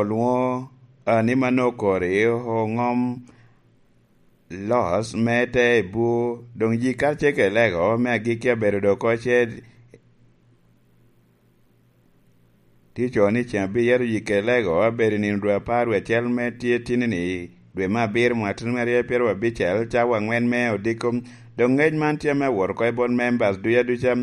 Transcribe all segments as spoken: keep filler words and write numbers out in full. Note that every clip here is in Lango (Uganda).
olwoŋo ni mano okori oŋom los me te i bur, doŋ ji karacel kede lego me agikki abedo doŋ oko ce tye co ni ceŋ abiyero yikke lego abedo i nino dwe apar wie acel me tye tinni, dwe me abiro mwaka tyen me aryo pyero abicel, cawa angwen me odiko. Doŋ ngec man tye ame awot oko i bot members duca duca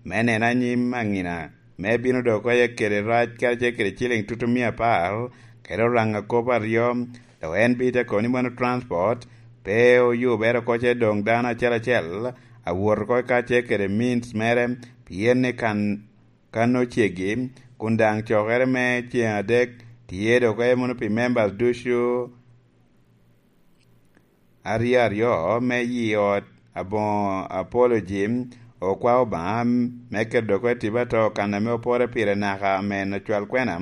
me neno anyim aŋina, me bino doŋ oko kede rac karacel kede ciliŋ tutu mia apar, kede oraŋa kop aryo. Dok en bite kono ni mano transport pe oyubere oko ce doŋ dano acel acel awot oko karacel kede means mere, pien ni kan kan oceggi, kun daŋ cokere me ceŋ adek tye doŋ oko mono pi members ducu aryo aryo me yi ot aboŋo Apology, okwa Obaŋa me keto doŋ oko i tipo atoo kan ame opore pire naka amen acwal kwena,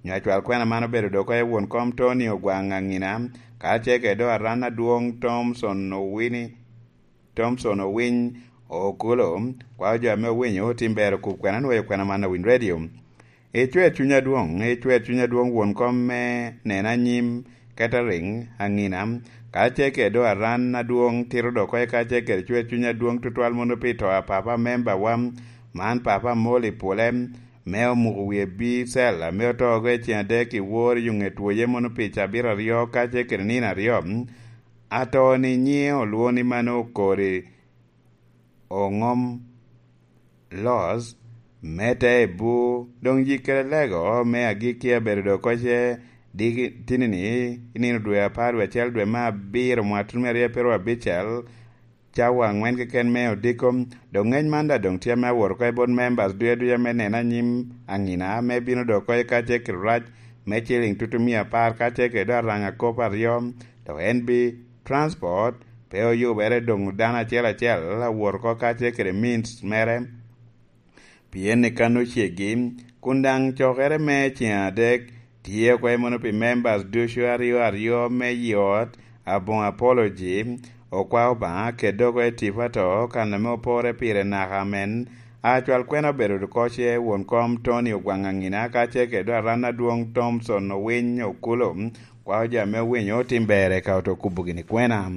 nyo acwal kwena man obedo doŋ oko won kom Tony Ogwaŋ Aŋina, karacel kede doŋ aran adwoŋ Thomson Owini, Thomson Owiny Okolo, kwao jo ame owinyo otim ber okub kwena nwoyo kwena man awiny radio. Icwer cuny adwoŋ, icwer cuny adwoŋ won kom me neno anyim, catering, aŋina, karacel kede doŋ aran adwoŋ tito doŋ oko karacel kede cwer cuny adwoŋ tutwal mono pi to a papa memba wa, man papa Amoli Pule, me omuko wie bicel ame oto oko i ceŋ adek i wor i yo ŋet woye mono pi cabit aryo karacel kede nino aryo. Ato ni nyiŋe olwoŋo ni mano okori oŋom los me te i bur, doŋ yikke lego me agikki abedo doŋ oko ce diki tinni i nino dwe apar wie acel dwe me abiro mwaka tyen me aryo pyero abicel, cawa angwen keken me odiko. Doŋ ngec man daŋ doŋ tye ame awot oko i bot members duca duca me neno anyim aŋina me bino doŋ oko i karacel kede rac me ciliŋ tutu mia apar karacel kede doŋ araŋa kop aryo, dok en bi transport pe oyubere doŋ dano acel acel awot oko karacel kede means mere, pien ni kan oceggi, kun daŋ cokere me ceŋ adek tye oko mono pi members ducu aryo aryo me yi ot aboŋo Apology, okwa Obaŋa kede doŋ oko i tipo atoo kan ame opore pire naka amen. Acwal kwena obedo oko ce won kom Tony Ogwaŋ Aŋina karacel kede doŋ aran adwoŋ Thomson Owiny Okolo, kwao jo ame owinyo otim ber eka oto kubo gini kwena.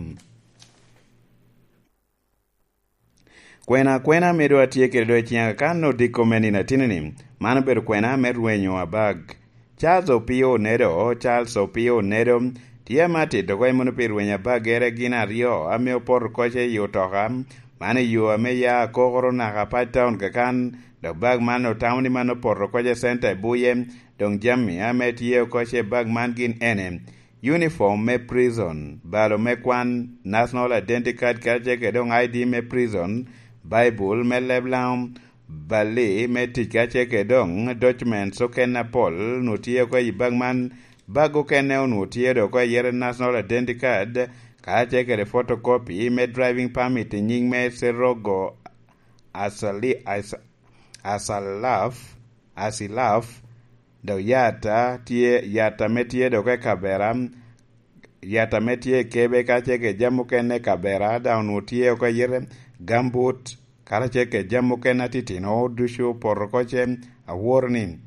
Kwena kwena ame doŋ atye kede doŋ i ciŋa kan odiko me nino atinni, man obedo kwena me rwenyo abag. Charles Opio Onedo, Charles Opio Onedo, tye ame atito oko i mono pi rwenyo abagere gin aryo ame opoto oko ce i otoka, man i yo ame ya akokoro naka Apac Town kakan, dok bag man otamo ni man opoto oko ce center i Buye, doŋ jami ame tye oko ce bag man gin ene: uniform me prison, balo me kwan, national identity card karacel kede doŋ I D me prison, Baibul me leb Laŋo, bali me tic karacel kede doŋ documents okene apol onwoŋo tye oko i bag man. Bag okene onwoŋo tye doŋ oko i yere national identity card, karacel kede photocopy me driving permit i nyiŋ me Serogo Asali-, As-, Asalaf, Asilaf, dok yata tye, yata me tye doŋ oko i kabera, yata me tye i kebe karacel kede jami okene i kabera, daŋ onwoŋo tye oko i yete, gambut, karacel kede jami okene atitino ducu opoto oko ce, aworo ni.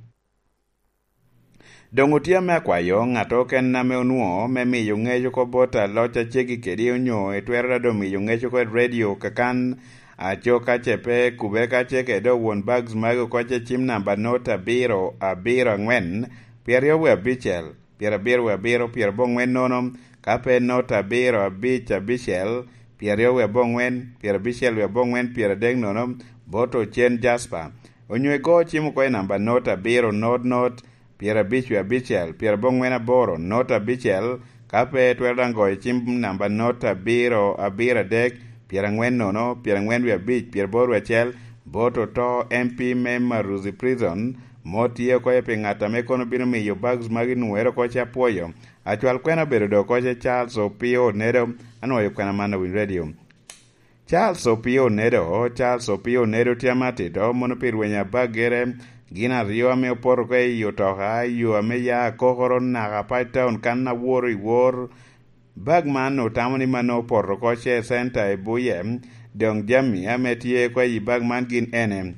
Doŋ otye ame akwayo ŋat okene ame onwoŋo me miyo ŋec oko bot aloc a ceggi kedi onyo itwero daŋ doŋ miyo ŋec oko i redio kakan, aco ka ce pe kubere karacel kede doŋ won bags magi oko ce cim namba not abiro abiro angwen, pyeraryo wie abicel, pyerabiro wie abiro, pyerabongwen nono, ka pe not abiro abic abicel, pyeraryo wie abongwen, pyerabicel wie abongwen, pyeradek nono, bot Ocen Jasper. Onyo igo cim oko i namba not abiro not not, pyerabic wie abicel, pyerabongwen aboro, not abicel, ka pe itwero daŋ goyo cim namba not abiro abiro adek, pyerangwen nono, pyerangwen wie abic, pyeraboro wie acel, bot oto M P me Maruzi Prison, mot tye oko pi ŋat ame kono bino miyo bags magi nwoŋere oko ce apwoyo. Acwal kwena obedo doŋ oko ce Charles Opio Onedo, anwoyo kwena man awiny radio. Charles Opio Onedo, Charles Opio Onedo tye ame atito mono pi rweny abagere gin aryo ame opoto oko i otoka, i yo ame ya akokoro naka Apac Town kan aworo i wor. Bag man otamo ni mano opoto oko ce center i Buye, doŋ jami ame tye oko i bag man gin ene.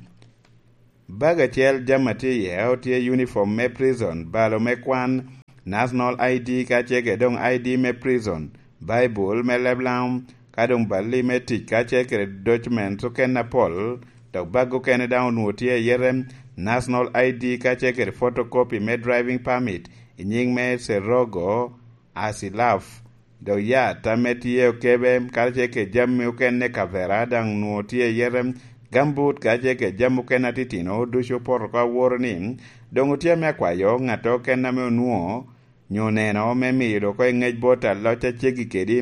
Bag acel jami a tye iye otye uniform me prison, balo me kwan, National I D ka ce kede doŋ I D me prison, Baibul me leb Laŋo, ka doŋ balli me tic ka ce kede documents okene apol, dok bag okene daŋ onwoŋo tye i yete, National I D ka ce kede photocopy me driving permit i nyiŋ me Serogo Asilaf, dok yat ame tye okebe karacel kede jami okene kavera daŋ onwoŋo tye i yete, gambut karacel kede jami okene atitino ducu opoto oko awoto ni doŋ otye ame akwayo ŋat okene ame onwoŋo nyo oneno me miyo dok oko i ŋec bot aloc a ceggi kedi,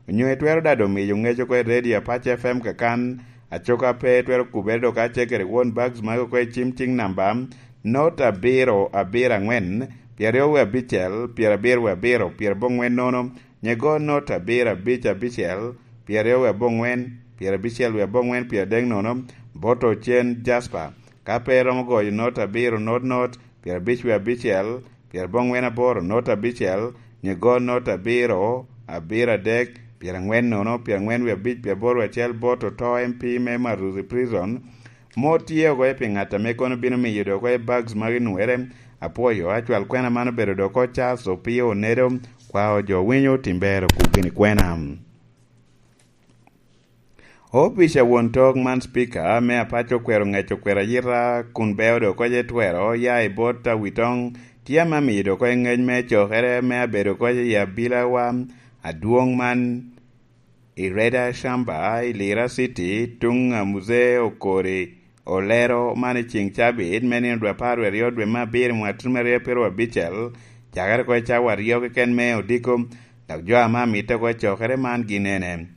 onyo itwero daŋ doŋ miyo ŋec oko i redio Apac F M kakan, acoka pe itwero kubere dok karacel kede won bags magi oko i cim cing namba, not abiro abiro aŋwen, pyeraryo wie abicel, pyerabiro wie abiro, pyerabongwen nono, nyego not abiro abic abicel, pyeraryo wie abongwen, pyerabicel wie abongwen, pyeradek nono, bot ocen Jasper. Ka pe iromo goyo not abiro not not, pyerabic wie abicel, pyerabongwen aboro not abicel, nyego not abiro abiro adek, pyerangwen nono, pyerangwen wie abic, pyeraboro wie acel, bot oto M P me Maruzi Prison, mot tye oko pi ŋat ame kono bino miyo dok oko i bags magi nwere. Apwoyo, acwal kwena man obedo dok oko Charles Opio Onedo, kwao jo winyo tim ber okub gini kwena. Opic a won tok man Speaker me Apac okwero ŋec okwero ayita kun beo dok oko etwero ya i bot awitoŋ tye ame amiyo dok oko i ŋec me cokere me abedo oko i abilawa adwoŋ man i Reda Shamba i Lira City tuŋ a Mzee Okori Olero man i ceŋ cabit me nino dwe apar wie aryo dwe me abiro mwaka tutumia aryo piro abicel, cakere oko i cawa aryo keken me odiko, dok jo ame amitte oko i cokere man gin ene.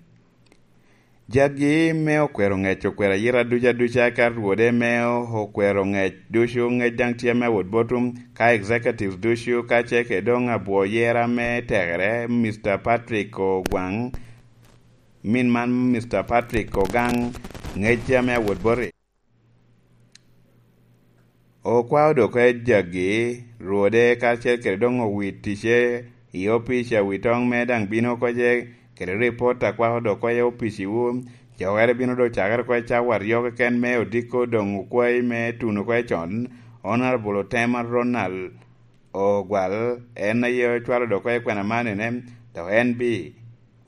Jagi me okwero ŋec okwero ayita ducu aduca ka rwode me okwero ŋec ducu ŋec daŋ tye me awot botum ka executives ducu ka ce ke doŋ abwo yera me tekere Mister Patrick Ogwaŋ, min man Mister Patrick Ogaŋ, ŋec tye me awot boti. Okwao dok oko jagi rwode karacel kede doŋ owit ticce i opic a wi toŋ me daŋ bino oko ce kede ripot a kwako dok oko i opic iwu. Cokere bino dok cakere oko i cawa aryo keken me odiko doŋ okwayi me tuno oko i con. Honorable Otema Ronald Ogwal en aye ocwalo dok oko i kwena man ene, dok en bi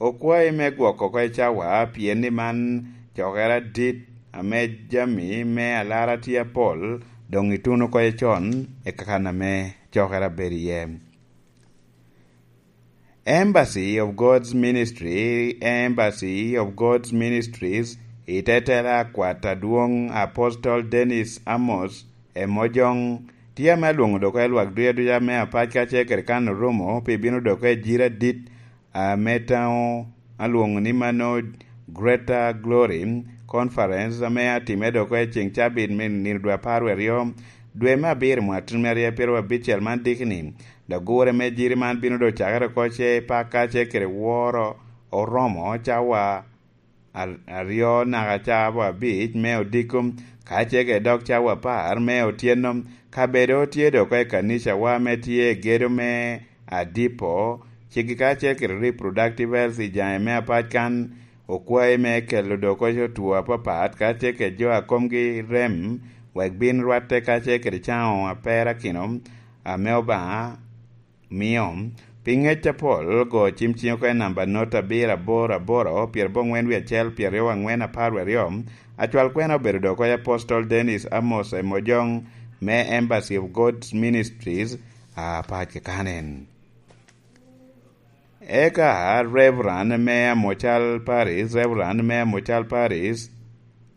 okwayi me gwoko oko i cawa pien ni man cokere adit ame jami me alara tye apol doŋ ituno oko i con i kakan ame cokere abedo iye. Embassy of God's Ministry, Embassy of God's Ministries, i tetela akwat adwoŋ Apostol Dennis Amos Emojoŋ, tye ame alwoŋo dok oko i lwak ducu aduca me Apac ka ce kede kan orumo pi bino dok oko i jiri adit ame taŋo alwoŋo ni mano Greater Glory Conference ame atime dok oko i ceŋ cabit me nino dwe apar wie aryo dwe me abiro mwaka tutumia aryo piro abicel man dikini. Dok gure me jiri man bino dok cakere oko ce paka ce kede woro oromo cawa ar-, aryo naka cawa abic me odiko, ka ce kede dok cawa apar me otyeno. Kabedo tye dok oko i kanicawa ame tye i gedo me Adipo, ceggi ka ce kede reproductive health i jaŋe me Apac kan, okwayi me kelo dok oko two apapat ka ce kede jo a komgi rem wek bin rwatte ka ce kede caŋo aperakino ame Obaŋa mio. Pi ŋec apol, go cim ciŋ oko i namba not abiro aboro aboro, pyerabongwen wie acel, pyeraryo angwen, apar wie aryo. Acwal kwena obedo dok oko i Apostol Dennis Amos Emojoŋ me Embassy of God's Ministries, Apac kakanen. Eka Reverend me Amocal Paris, Reverend me Amocal Paris,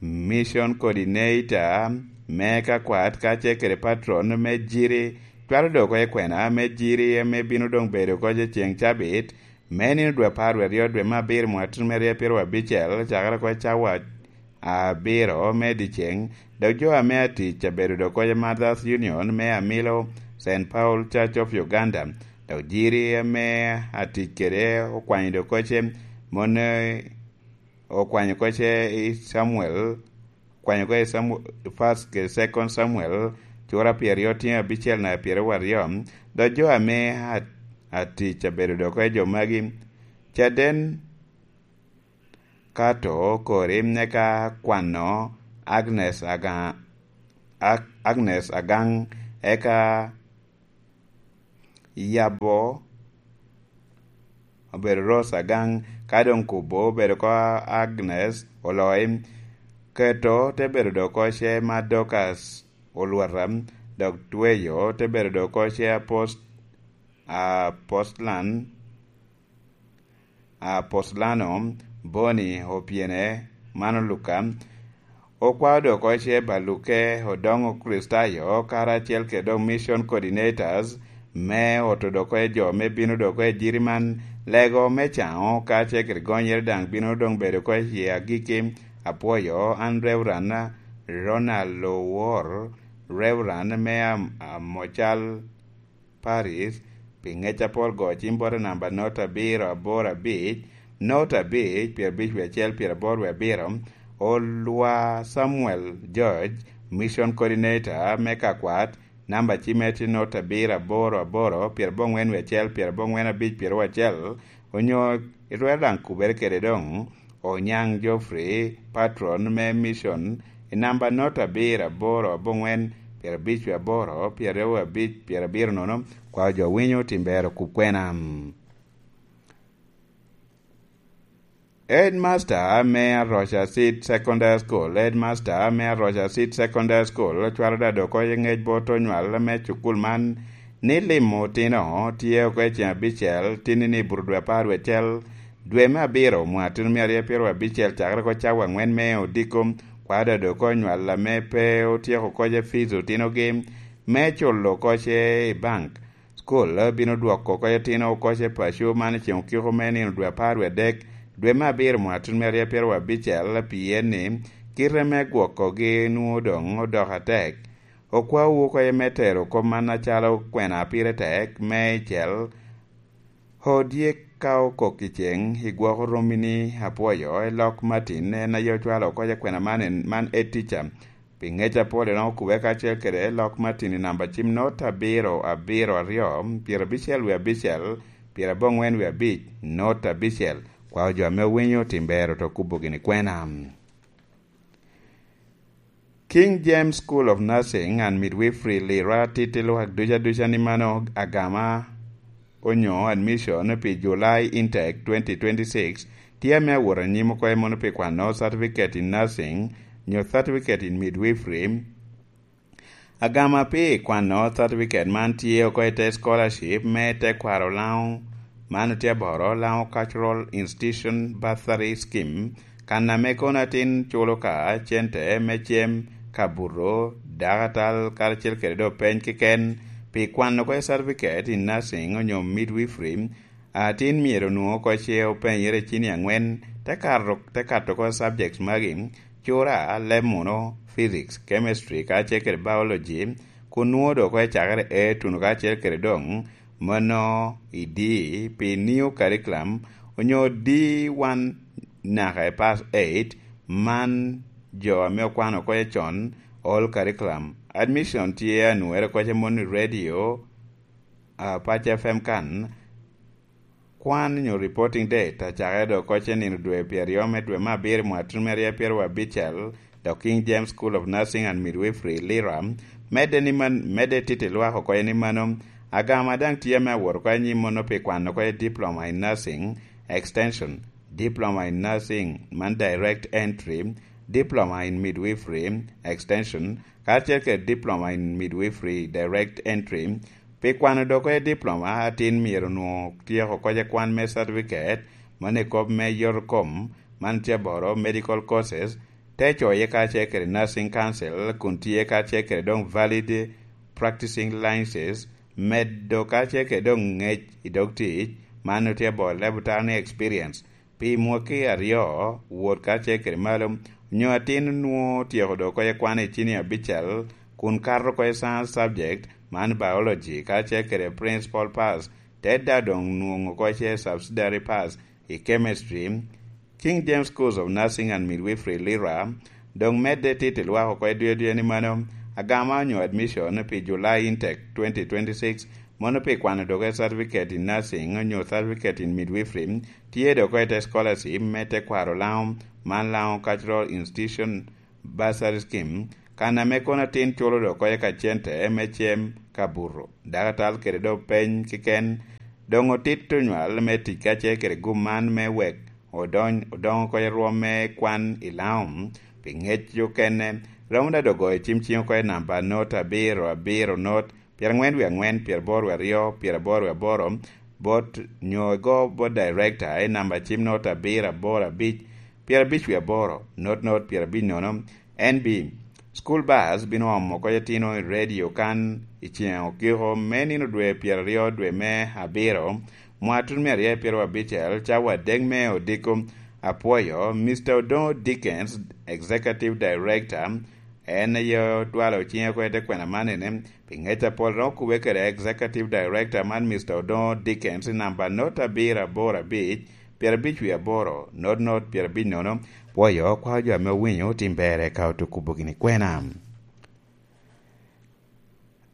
Mission Coordinator me kakwat ka ce kede patron me jiri, cwalo dok oko i kwena me jiri ame bino doŋ bedo oko i ceŋ cabit, me nino dwe apar wie aryo dwe me abiro mwaka tutumia aryo piro abicel, cakere oko i cawa abiro me dyeceŋ, dok jo ame atic abedo dok oko i Mothers Union me Amilo, Saint Paul Church of Uganda, dok jiri ame atic kede okwanyo dok oko ce, mon, eh, okwanyo oko ce i Samuel, okwanyo oko i Samu-, First kede Second Samuel, cura pyeraryo tyen abicel naka pyeraryo aryo, dok jo ame at-, atic abedo dok oko i jo magi, caden Kato Korim, eka kwano Agnes Aga-, Ag-, Agnes Agaŋ, eka Yabo obedo Rose Agang, ka doŋ Kubo obedo oko Agnes Oloi, Keto te bedo doŋ oko ce ma Dorcas Olwata, dok Tweyo te bedo doŋ oko ce Apost-, Apostlan, Apostlano, Boni Opyene, mano Luka, okwao doŋ oko ce Baluke, Odoŋo Kricitayo, karacel kede doŋ mission coordinators me oto doŋ oko jo me bino doŋ oko i jiri man, lego me caŋo ka ce kede gonyere daŋ bino doŋ bedo oko i agikki. Apwoyo an Reverend Ronald Owor, Reverend me Am-, Amocal Paris, pi ŋec apol go cim bote namba not abiro aboro abic, not abic, pyerabic wie acel, pyeraboro wie abiro, Olwa Samuel George, Mission Coordinator me Kakwat, namba cimme tye not abiro aboro aboro, pyerabongwen wie acel, pyerabongwen abic, pyeraryo acel, onyo itwero daŋ kubere kede doŋ, Onyaŋ Geoffrey, patron me mission, i namba not abiro aboro abongwen, pyerabic wie aboro, pyeraryo abic, pyerabiro nono, kwao jo winyo timbero kub kwena. Headmaster me Aroca Seed Secondary School, Headmaster me Aroca Seed Secondary School, cwalo dado oko i ŋec bot onywal me cukul man, ni limo otino tye oko i ceŋ abicel, tinni ni buto dwe apar wie acel, dwe me abiro, mwaka tuno mia aryo pyeraryo abicel, cakere oko cawa angwen me odiko, kwado doŋ oko onywal ame pe otyeko oko ce fees otinogi, me culo oko ce i bank. School bino dwoko oko ce otino oko ce paco man i ceŋ okiko me nino dwe apar wie adek, dwe me abiro, mwaka tuno mia aryo pyeraryo abicel, pien ni kite me gwokogi nwoŋo doŋ odoko atek. Okwawu oko ce me tero kop man acalo kwena pire tek, me icel, odye ka okok i ceŋ, igwoko romi ni apwoyo, i lok Martin, en aye ocwalo oko ce kwena man, en, man e tica. Pi ŋec apol, en okube kacel kede lok Martin i namba cim not abiro abiro aryo, pyerabicel wie abicel, pyerabongwen wie abic, not abicel. Kwao jo ame owinyo timbero to kubo gini kwena. King James School of Nursing and Midwifery, Lira, titi lwak duca duca ni mano agama onyo admission pi July intake twenty twenty-six tye ame awot anyim oko i mono pi kwano certificate in nursing nyo certificate in midwifery. Agama pi kwano certificate man tye oko i te scholarship me tekwaro Laŋo, man tye aboro, Laŋo Cultural Institution Bursary Scheme, kan ame kono atin culo ka cente me cem, kabuto, dakatal, karacel kede doŋ peny keken pi kwano oko i certificate in nursing onyo midwifery. Atin myero onwoŋo oko ce openyere i cini angwen, te kato, te kato oko subjects magi, cura, leb muno, physics, chemistry, kacel kede biology, kun nwoŋo doŋ oko ecakere A tuno kacel kede doŋ mano i D pi new curriculum, onyo D one naka i pass eight, man jo ame okwano oko ce con, all curriculum. Admission tye anwoŋere oko ce mono i radio, a, Pac F M kan. Kwan nyo reporting date acakere doŋ oko ce nino dwe pyeraryo me dwe me abiro mwaka tuno mia aryo pyeraryo abicel, dok King James School of Nursing and Midwifery, Lira, medde ni man, medde titi lwak oko ni mano, agama daŋ tye ame awot oko anyim mono pi kwano oko diploma in nursing extension, diploma in nursing man direct entry, diploma in midwifery extension, kacel kede diploma in midwifery direct entry. Pi kwano doŋ oko diploma, atin myero onwoŋo tyeko oko ce kwan me certificate, mano i kop me yot kom, man tye aboro medical courses, te coye kacel kede nursing council, kun tye kacel kede doŋ valid practicing licenses, medo kacel kede doŋ ŋec i dog tic, man tye aboro laboratory experience. Pi mwaki aryo, wot kacel kede malo, onyo atin nwoŋo otyeko doŋ oko ce kwan i cini abicel, kun kato oko ce science subject, man biology, kacel kede principal pass, te daŋ doŋ nwoŋo oko ce subsidiary pass i chemistry. King James Schools of Nursing and Midwifery, Lira, doŋ medde titi lwak oko i dwedwe ni mano, agama onyo admission pi July intake twenty twenty-six, mono pi kwano doŋ oko certificate in nursing onyo certificate in midwifery, tye doŋ oko i te scholarship me tekwaro Laŋo, man Laŋo Cultural Institution Bursary Scheme, Kan ame kono atin culo dok oko ka cente me cem ka buto, dakatal kede dok peny keken, doŋ otito nywal me tic kacel kede gum man me wek odony, odoŋ oko i rwom me kwan i Laŋo, pi ŋec okene, romo da dogo i cim ciŋ oko i namba not abiro abiro not, pyerangwen wie angwen, pyeraboro wie aryo, pyeraboro wie aboro, bot nyo igo bot director i namba cim not abiro aboro abic, pyerabic wie aboro, not not pyerabic nono. N B, school bus bino omo oko itino i radio kan i ceŋ okiko me nino dwe pyeraryo dwe me abiro, mwatun me aryo pyeraryo abicel, cawa adek me odiko. Apwoyo Mister Odongo Dickens, Executive Director, en aye otwalo ciŋe oko i te kwena man ene, pi ŋec apol romo kubbe kede Executive Director man, Mister Odongo Dickens, i namba not abiro aboro abic, pyerabic wie aboro, not not pyerabic nono. Pwoyo kwao jo ame owinyo tim berre ka otukubo gini kwena.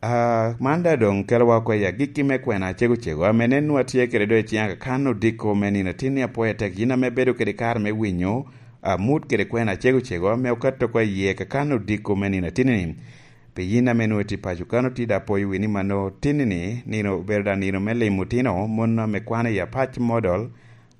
Ah, man da doŋ kelowa oko i agikki me kwena cego cego, ame nen nwa tye kede do i ciŋ akakan odiko me nino atin ni apwoyo tek yin ame bedo kede kare me winyo amut kede kwena cego cego ame okato oko i yie kakan odiko me nino atin ni. Pi yin ame nwoŋo itye paco kan otida, apwoyo wi ni mano tin ni nino obedo da nino me limo otino mon ame kwano i Apac Model,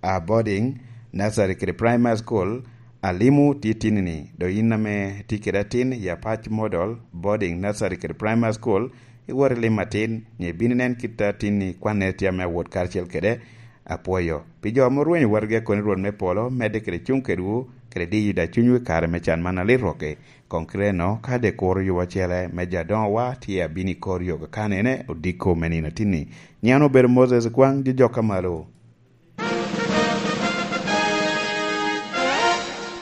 a boarding, nursery kede primary school, alimo titini-ni. Dok yin ame tye kede atin i Apac Model, boarding, nursery kede primary school, iwot ilim atin, nyo ibino inen kit a tin-ni kwanne tye ame awot karacel kede. Apwoyo pi jo ame orwenyo watgi akoni Rwot me polo, medde kede cuŋ kedwu, kede diyo da cunywu i kare me can man alit rwokki. Koŋ kite eno, ka de kuro yubo acele me jo adoŋowa tye abino i kor yo kakanene odiko me nino atin-ni. Nyiŋ an obedo Moses Kwaŋ, jojokka malo.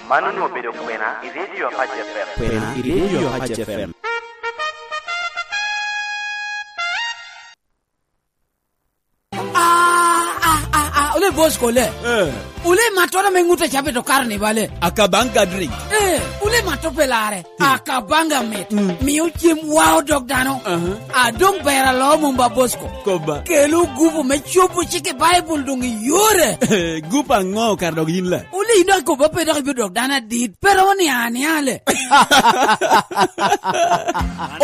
Man onwoŋo obedo kwena i Radio Apac F M. Kwena i Radio Apac F M. Ah, ah, ah, ah, ole boss kole. Eh. Ole matoro me ŋut a cabe to karo ni bale. Akabanga drink. Eh, ole mato pelare. Hmm. Akabanga mit. Hmm. Miyo cem wao dog dano. Aha. Adong bera lo mumba Bosco. Koba. Kelo gupu me cobo cik i Baibul dong i yore. Gupu aŋo kar dog yin la? Ole ino akobo pe dok ibiro dok dano adit. Pero ni aniale.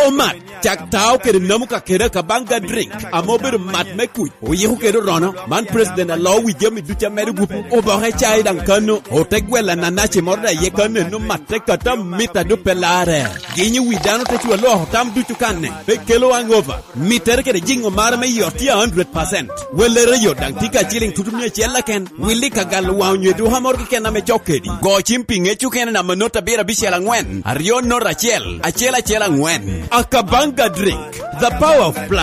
Omat, cak tao kede namu ka kede Akabanga drink, ame obedo mat me kuc, oyiko kede orono. Man president alo wi jami ducu amedo gupu. Oboke cai daŋ kano, ote gwela nanaci moro da iye kano eno matte kata mita dupe lare. Ginyo wi dano te cwa loko tam ducu kanne, pe kelo hangover. Mittere kede jiŋo mara me yot tye a hundred percent. Wellere yot daŋ tye ka ciliŋ tutu mia acel keken. Willi ka galo waŋ onyo eduka moro keken ame cok kedi. Go cim pi ŋec okene namba not abiro abicel aŋwen, aryo not acel, acel acel aŋwen. Akabanga drink, the power of plant.